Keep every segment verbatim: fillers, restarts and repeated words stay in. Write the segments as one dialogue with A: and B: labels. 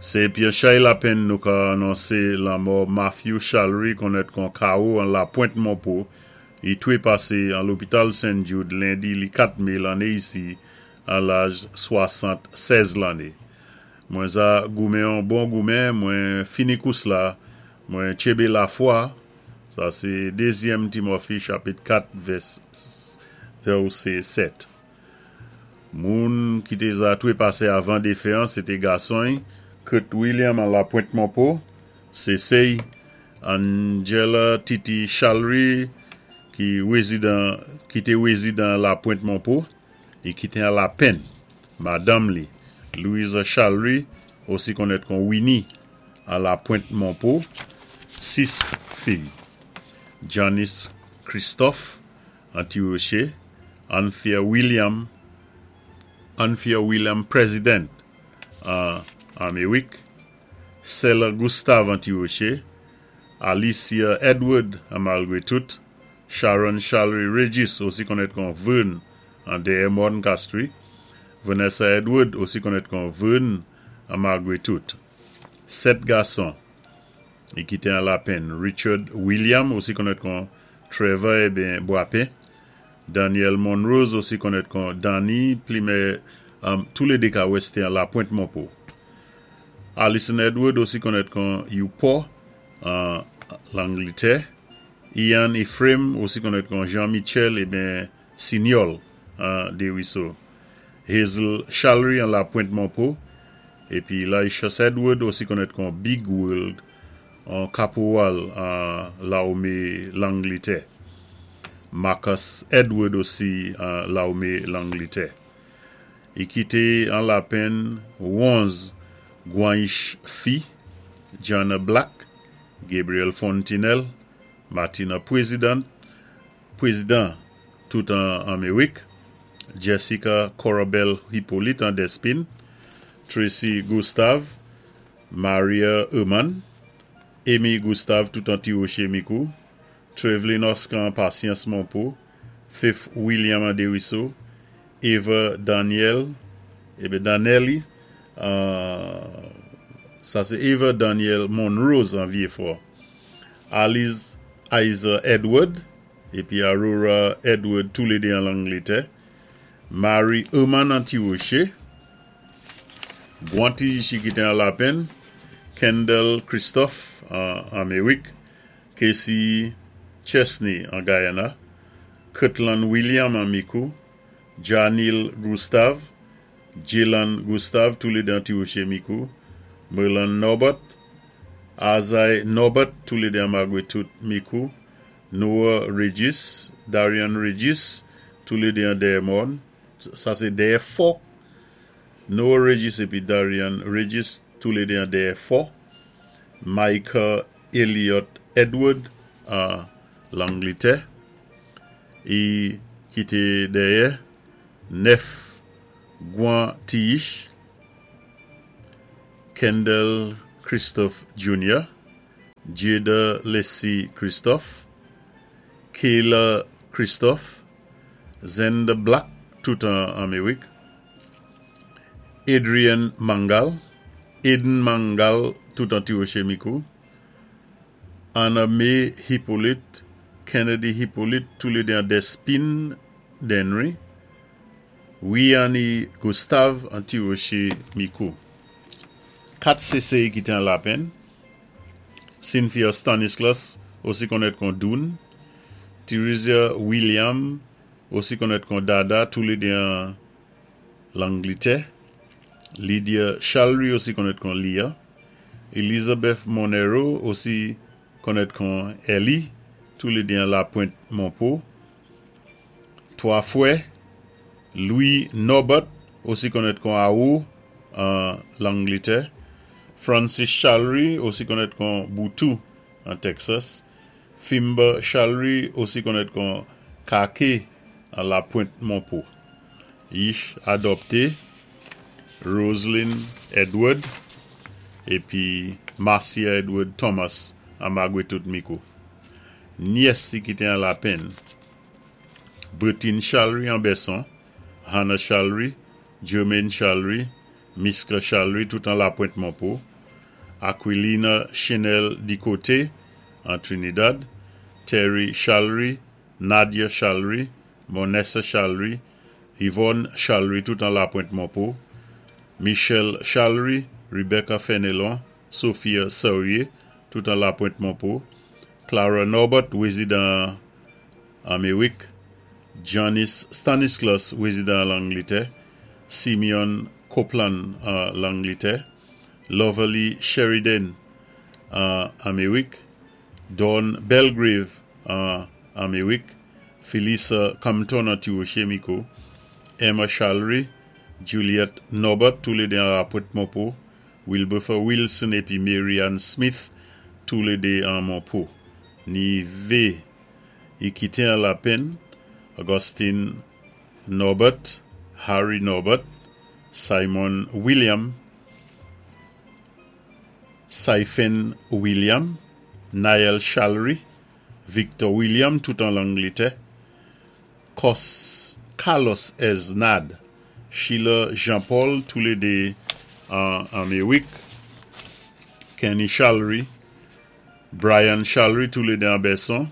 A: Sé pi an chay lapenn nou ka anonsé lanmò Matthew Charlery konnèt kon K O an Lapwent Monpo. I twé pasé an lopital Saint Jude lendi li kat mé lanné isi an laj swasannsèz lanné. Mwen za goumen an bon goumen, mwen fini kous la, mwen tchébé lafwa. Sa sé dézyèm Timothée chapit kat vèsé sèt. Moun ki té za twé pasé avan défen an, sé té gason Kurt William an Lapwent Monpo, sé Angela Titi Charlery ki wézidan ki té wézidan Lapwent Monpo é ki té an lapenn madanm li Louisa Charlery, osi konnèt kon Winnie, an Lapwent Monpo, sis fiy: Janice Christophe an Ti-Rocher, Anthea William Anthea William President an Amérik, Sela Gustave an Ti-Rocher, Alicia Edward an Malgrétout, Sharon Charlery Regis, osi konnèt kon Vern, an Dèyè Mòn Castries, Vanessa Edward, osi konnèt kon Vern, an Malgrétout. Sèt gason i kité an lapenn: Richard William, osi konnèt kon Trevor ébyen Boapin, Daniel Monrose, osi konnèt kon Danny Plimer, um, toulédé ka wèsté an Lapwent Monpo. Alison Edward, osi konnèt kon Youpo, an Langlitè, Ian Ephraim, osi konnèt kon Jean-Michel ébyen Signol an Desruisseaux. Hazel Charlery an Lapwent Monpo, épi Laishus Edward, osi konnèt kon Big World, an kapowal an lamé Langlitè. Marcus Edward osi an lamé Langlitè. I kité an lapenn onz gwanyich fi: Jana Black, Gabriel Fontinelle, Martina President, Président tout an Amérik, Jessica Corabel Hippolyte an Despines, Tracy Gustave, Maria Eman, Amy Gustave tout an Ti-Rocher Micoud, Trevelyn Oscar an Patience Monpo, Fifth William an Desruisseaux, Eva Daniel, ébyen Danelli, euh, sa sé Eva Daniel Monrose an Vieux-Fort, Alice Isa Edward, épi Aurora Edward toulédé an Langlitè, Mary Eman an Ti-Rocher, Gwanti ki kité an lapenn, Kendall Christophe an Amérik, Casey Chesney an Guyana, Kirtland William an Micoud, Janil Gustave, Jalen Gustave toulédé an Ti-Rocher Micoud, Merlin Norbert, Azai Norbert toulédé an Malgrétout Micoud, Noah Regis, Darian Regis toulédé an Dèyè Mòn, sa sé Dèyè Fò, Noah Regis épi Darian Regis toulédé an Dèyè Fò, Micah Elliott Edward an Langlitè, i kité dèyè nèf gwan tiyich: Kendall Christophe Junior, Jada Lacey Christophe, Kayla Christophe, Zenda Black tout an Amérik, Adrian Mangal, Aiden Mangal tout an Ti-Rocher Micoud, Anna May Hippolyte, Kennedy Hippolyte toulédé an Despines Dennery, Riani Gustave an Ti-Rocher Micoud. Kat séséy ki té an lapenn: Cynthia Stanislas, osi konnèt kon Doon, Theresia William, osi konnèt kon Dada, toulédé an Langlitè, Lydia Charlery, osi konnèt kon Lia, Elizabeth Monero, osi konnèt kon Ellie, toulédé an Lapwent Monpo, twa fwè: Louis Norbert, osi konnèt kon Aou an Langlitè, Francis Charlery, osi konnèt kon Boutou an Texas, Fimba Charlery, osi konnèt kon Kake an Lapwent Monpo. Yich adopté: Roslyn Edward épi Marcia Edward Thomas an Malgrétout Micoud. Nyès ki kité an lapenn: Bertine Charlery an Besson, Hannah Charlery, Jermaine Charlery, Miska Charlery tout an Lapwent Monpo, Aquilina Chanel Dicote an Trinidad, Terry Chalry, Nadia Chalry, Monessa Chalry, Yvonne Chalry, tout an La Pointe Monpont, Michel Chalry, Rebecca Fenelon, Sophia Saurier, tout an La Pointe Monpont, Clara Norbert, wézidan Améwik, Janice Stanislas, wézidan Langlétè, Simeon Copeland an Langlétè, Loverly Sheridan an Améwik, Dawn Belgrave an Améwik, Felisa Compton an Ti-Woché Mikou, Emma Chalry, Juliette Norbert, toulédé an La Pointe Monpont, Wilberfer Wilson épi Mary Ann Smith, toulédé an Monpont. Ni vé i kité an lapenn, Augustine Norbert, Harry Norbert, Simon William, Saifen William, Niall Chalry, Victor William, tout an Langlétè, Cos, Carlos Esnad, Sheila Jean-Paul, toulédé an Améwik, Kenny Chalry, Brian Chalry, toulédé an Besson,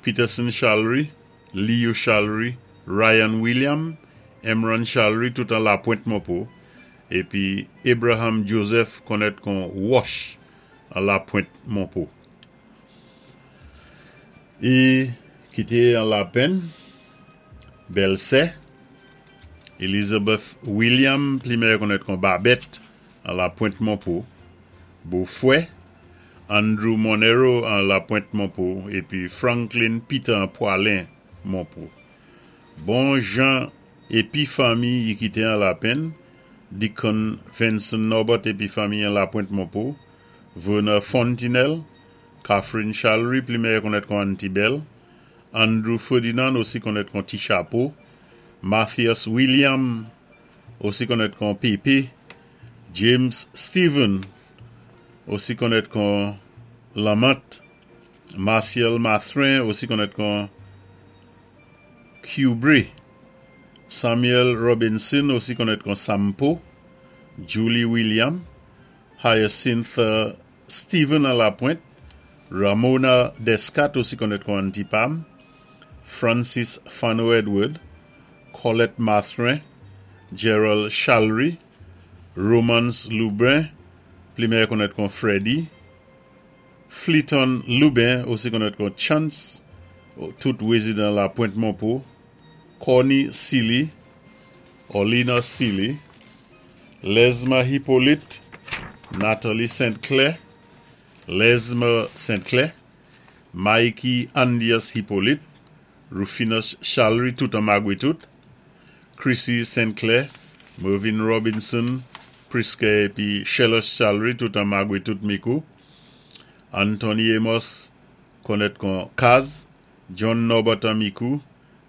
A: Peterson Chalry, Leo Chalry, Ryan William, Emron Chalry, tout an La Pointe Monpont, épi Abraham Joseph konnèt kon Wash an La Pointe Monpont. I kité an lapenn, bèlsè, Elizabeth William, pli méyè konnèt kon Babette an La Pointe Monpont, bofwè, Andrew Monero an La Pointe Monpont, épi Franklin Peter an Poilin Monpont. Bon jan épi fanmi i kité an lapenn, Deacon Vincent Norbert épi fanmi an La Pointe Monpont, Werner Fontinelle, Catherine Chalry, pli méyè konnèt kon Antibel, Andrew Ferdinand osi konnèt kon Ti Chapeau, Matthias William osi konnèt kon Pepe, James Stephen osi konnèt kon Lamont, Martial Mathrin osi konnèt kon Kubre, Samuel Robinson osi konnèt kon Sampo, Julie William, Hyacinth Stephen an La Pointe, Ramona Descat osi konnèt kon Antipam, Francis Fano Edward, Colette Mathrin, Gerald Chalry, Romance Lubin, pli méyè konnèt kon Freddy, Fleeton Lubin, osi konnèt kon Chance, tout wézidan La Pointe Monpont, Connie Sealy, Olina Sealy, Lesma Hippolyte, Nathalie Saint-Clair, Lesma Saint-Clair, Mikey Andias Hippolyte, Rufinus Chalry, tout an Magwe tout, Chrissy Saint-Clair, Mervyn Robinson, Priske épi Sheila Chalry, tout an Magwe tout Mikou, Anthony Amos, konnèt kon Kaz, John Norbert an Mikou,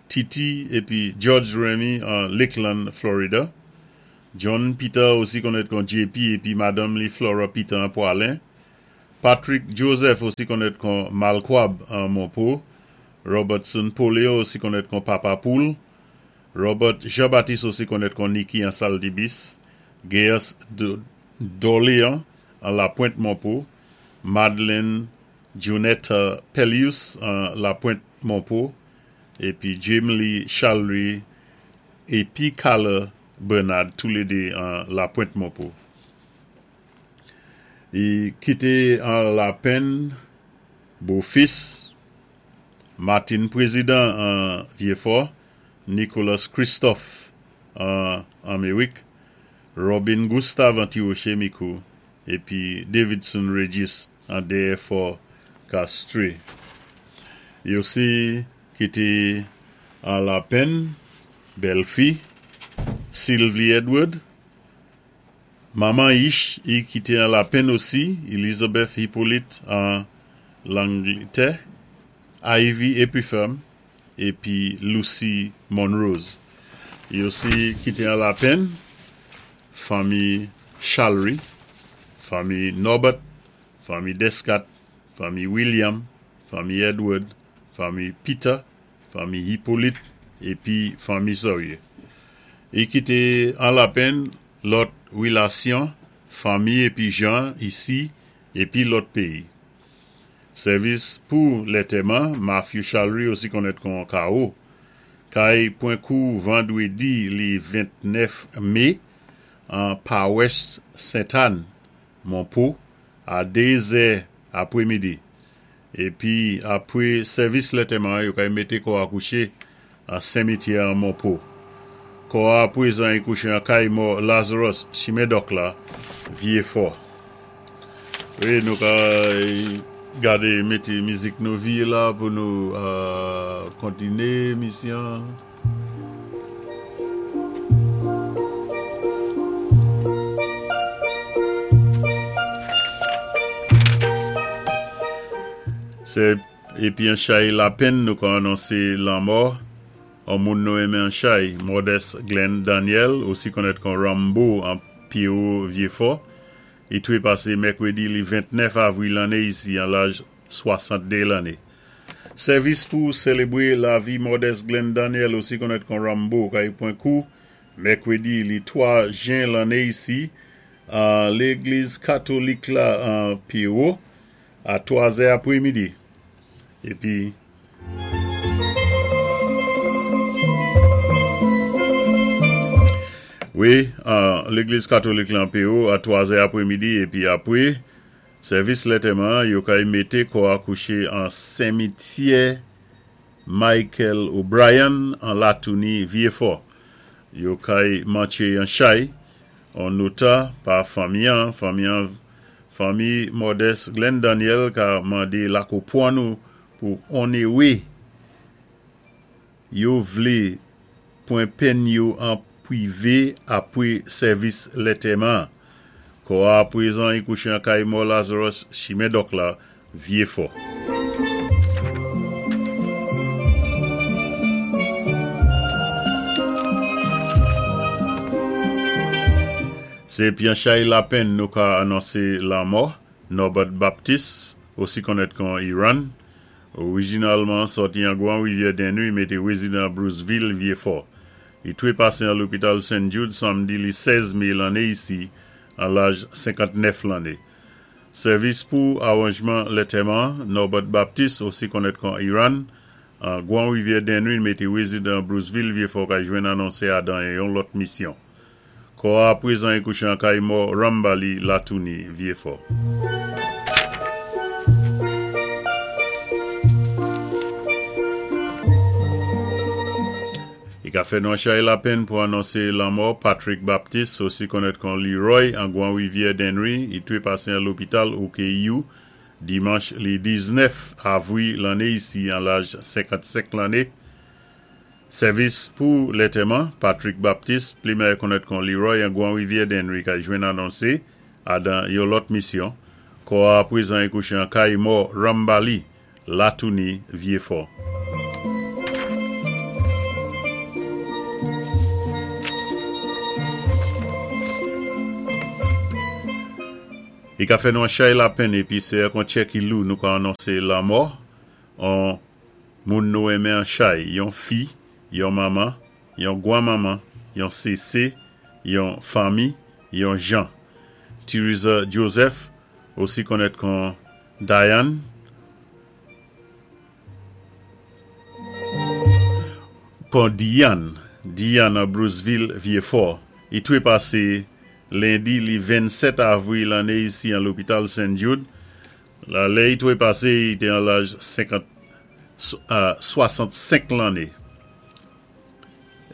A: Titi épi George Remy an Lakeland, Florida, John Peter osi konnèt kon JP épi Madame Lee Flora Peter an Poilin, Patrick Joseph osi konnèt kon Malkwab an Monpont, Robertson Poleo osi konnèt kon Papa Poul, Robert Jean-Baptiste osi konnèt kon Nicky an Saldibis, Gaius Dorlean an La Pointe Monpont, Madeleine Junetta Pelius an La Pointe Monpont, épi Jamie Chalry épi Carla Bernard, toulédé an La Pointe Monpont. I kité an lapenn, bofis, Martin Président an Vieux-Fort, Nicolas Christophe an Améwik, Robin Gustave an Ti-Woché Mikou, épi Davidson Regis an Dèyè Castries. I osi kité an lapenn, bèlfi, Sylvie Edward, Maman Ish, i kité an lapenn osi, Elizabeth Hippolyte an Langlétè, Ivy Epiferme, épi Lucy Monrose. I osi kité an lapenn, fanmi Chalry, fanmi Norbert, fanmi Descat, fanmi William, fanmi Edward, fanmi Peter, fanmi Hippolyte, épi fanmi Sorier. I kité an lapenn lòt wilasyon, fanmi épi jan isi épi lòt péyi. Sèvis pou lantèman, Matthew Chalry osi konnèt kon K O, kay pwan kou vandwédi li ventnèf mé an pawès Sainte-Anne, Monpo, a dé zè apwémidi. Épi apwé sèvis lantèman, yo kay mété kò a kouché an senmityè an Monpo. Kò a apwézan i kouché an kay mò Lazarus, chimen Dòk la, Vyéfò. Wi, nou ka gadé mété mizik nou vi la pou nou euh, kontiné misyon. Sé épi an chay lapenn nou ka anonsé lanmò an moun nou enmen an chay, Modeste Glenn Daniel, osi konnèt kon Rambo an Pierrot Vyéfò, i twépasé mèkwédi li ventnèf avwil lanné isi an laj swasanntdé lanné. Sèvis pou sélébwé lavi Modeste Glenn Daniel, osi konnèt kon Rambo, kay pwan kou mèkwédi li twa jen lanné isi an légliz katolik la an Pierrot a twa zè apwémidi. Épi wi, an légliz katolik la an Pierrot a twa zè apwémidi épi apwé sèvis lantèman, yo kay mété kò a kouché an senmityè Michael O'Brien an Latouni Vyéfò. Yo kay mantché an chay, an nota pa fanmi an, fanmi an, fanmi Modeste Glenn Daniel ka mandé lakopwan nou pou onnéwé yo vlé pwan penn yo an pwivé apwé sèvis lantèman. Kò a apwézan i kouché an kay mò Lazarus, chimen Dòk la, Vyéfò. Sé épi an chay lapenn nou ka anonsé lanmò Norbert Baptiste, osi konnèt kon Iran, orijinalman sòti an Gwan Rivyè Dennery, mé té wézidan Bruceville, Vyéfò. I twépasé an lopital Saint Jude samdi li sèz mé lanné isi an laj senkantnèf lanné. Sèvis pou awanjman lantèman Norbert Baptiste, osi konnèt kon Iran, an Gwan Rivyè Dennery, mé té wézidan Bruceville, Vyéfò, ka jwenn anonsé a dan yon lòt misyon. Kò a apwézan i kouché an kay mò Rambali Latouni Vyéfò. I ka fè nou an chay lapenn pou anonsé lanmò Patrick Baptiste, osi konnèt kon Leroy, an Gwan Rivyè Dennery, i twépasé an lopital O K U dimanch li diznèf avwi lanné isi an laj senkannsenk lanné. Sèvis pou lantèman Patrick Baptiste, pli mèyè konnèt kon Leroy an Gwan Rivyè Dennery, ka jwenn anonsé a dan yon lòt misyon. Kò a apwézan i kouché an kay mò Rambali, Latouni, Vyéfò. I ka fè nou an chay lapenn épi sé kon tchè ki lou nou ka anonsé lanmò an moun nou enmen an chay, yon fi, yon manman, yon gwan manman, yon sésé, yon fanmi, yon jan. Theresa Joseph, osi konnèt kon Diane, kon Diane, Diane an Bruceville, Vyéfò, i twépasé lendi li vennsèt avwi lanné isi an lopital Saint Jude. La lè i twépasé, i té an laj senkant, euh, swasannsenk lanné.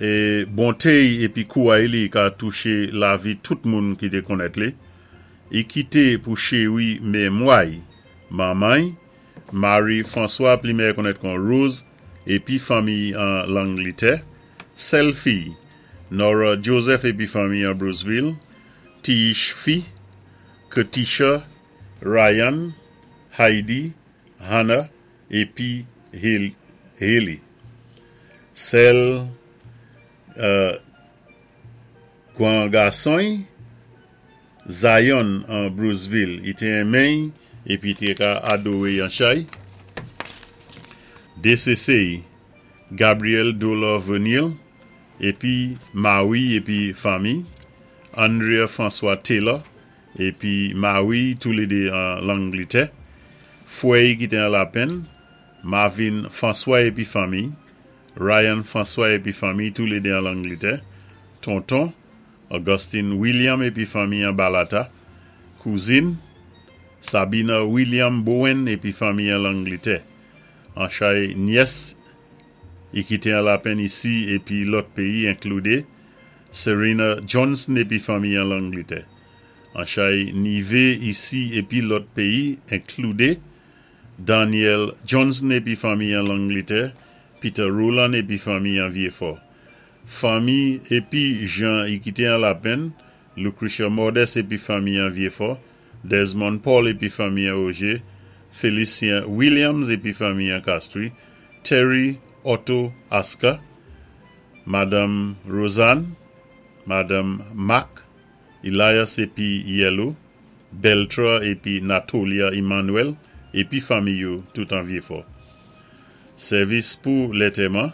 A: É bonté épi kouway li ka touché lavi tout moun ki té konnèt li. I kité pou chéwi mémway manman, Marie François, pli mèyè konnèt kon Rose, épi fanmi an Langlétè, sèl fi, Nora Joseph épi fanmi an Bruceville, Tish fi, Katisha, Ryan, Heidi, Hannah, épi Haley. Sèl euh, gwan gason Zion an Bruceville, i té enmen épi té ka adowé an chay. D C C Gabriel Dolor Venil épi Marie épi fanmi, Andrea François Taylor épi mari toulédé an Langlitè, fwè ki té an Lapenn, Marvin François épi fanmi, Ryan François épi fanmi toulédé an Langlitè, tonton, Augustine William épi fanmi an Balata, kouzin, Sabina William Bowen épi fanmi an Langlitè, an chay nyès i ki té an Lapenn isi épi lòt péyi inkloudé, Serena Johnson épi fanmi an Langlitè. An chay nivé isi épi lòt péyi inkloudé, Daniel Johnson épi fanmi an Langlitè, Peter Roland épi fanmi an Vieux-Fort. Fanmi épi jan i ki té an Lapenn, Lucretia Modeste épi fanmi an Vieux-Fort, Desmond Paul épi fanmi an Augier, Félicien Williams épi fanmi an Castries, Terry Otto Aska, Madame Rosanne, Madame Mac, Elias épi Yellow, Beltra épi Natolia Emmanuel, épi fanmi yo tout an Vieux-Fort. Sèvis pou lantèman,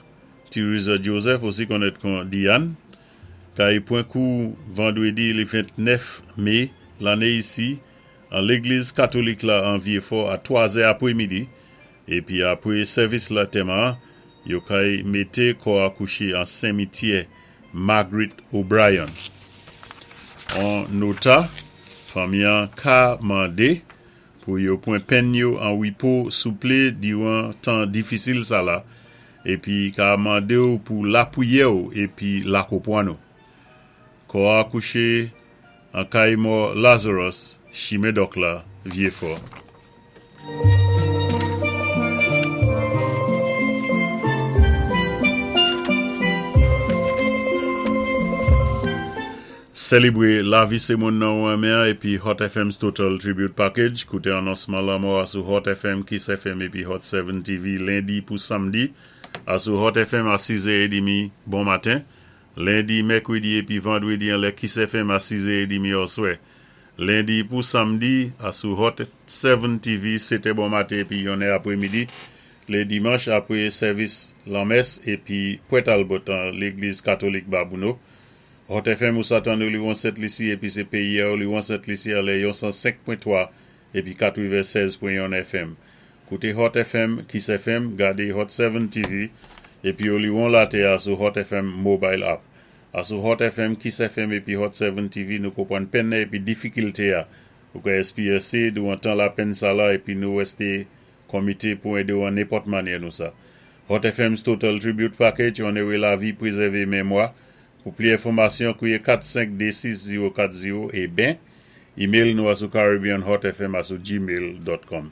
A: Theresa Joseph osi konnèt kon Diane, kay pwan kou vandwédi li ventnèf mé lanné isi an légliz katolik la an Vieux-Fort a twa zè apwémidi épi apwé sèvis lantèman yo kay mété kò a kouché an simityè Margaret O'Brien. An nota, fanmi an ka mandé pou yo pwan penn yo an wipo souplé diwan tan difisil sa la épi ka mandé ou pou lapwiyè ou épi lakonpwann ou. Kò a kouché an kay mò Lazarus, chimen Dòk la, Vieux-Fort. Sélébré lavi sé moun nan ou renmen épi Hot FM's Total Tribute Package. Kouté anonsman lanmò sou Hot FM, Kiss FM épi Hot sèt TV lendi pou samdi. A sou Hot FM a sis è édmi bon maten. Lendi, mèkwédi épi vandwédi an lè Kiss FM a sis è édmi oswè. Lendi pou samdi a sou Hot sèt TV, sétè bon maten épi yon è apwémidi. Lé dimanch apwé sèvis lanmès épi Pwè Talbot an légliz katolik Babonneau. Hot FM ou sa tann li Sent Lisi épi sé péyi li Sent Lisi a lè san senk pwen twa épi katwevensèz pwen yon FM. Kouté Hot FM, Kiss FM, gadé Hot sèt TV épi ou li latè a sou Hot FM mobile app. A sou Hot FM, Kiss FM épi Hot sèt TV nou konpwann penn épi difikilte a. Ou ka espéyasé douwan tan lapenn sa la épi nou wésté komité pou édé ou an nenpòt mannyè nou sa. Hot FM's Total Tribute Package, onoré lavi, pwézèvé mémwa. Pou plis enfòmasyon, kouwé kat senk dé sis zewo kat zewo é ben, email nou a sou caribbeanhotfm a sou gmail.com.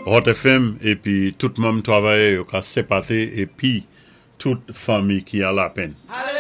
A: Hot FM épi tout manm twavayè yo ka senpaté épi tout fanmi ki an lapenn.
B: Alléluia.